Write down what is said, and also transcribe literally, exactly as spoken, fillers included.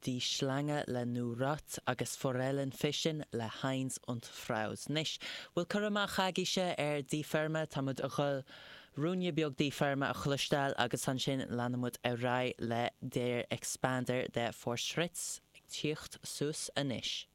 Die Schlange le New Rot agus Forellenfischen le Heinz und Fraus. Anois, bhfuil cur amach agaibhse ar Die Firma Táimid ag dul ruainne beag Die Firma a chloisteáil agus ansin leanfaimid ar aghaidh le Der Expander de Fortschritts ag tíocht suas anois.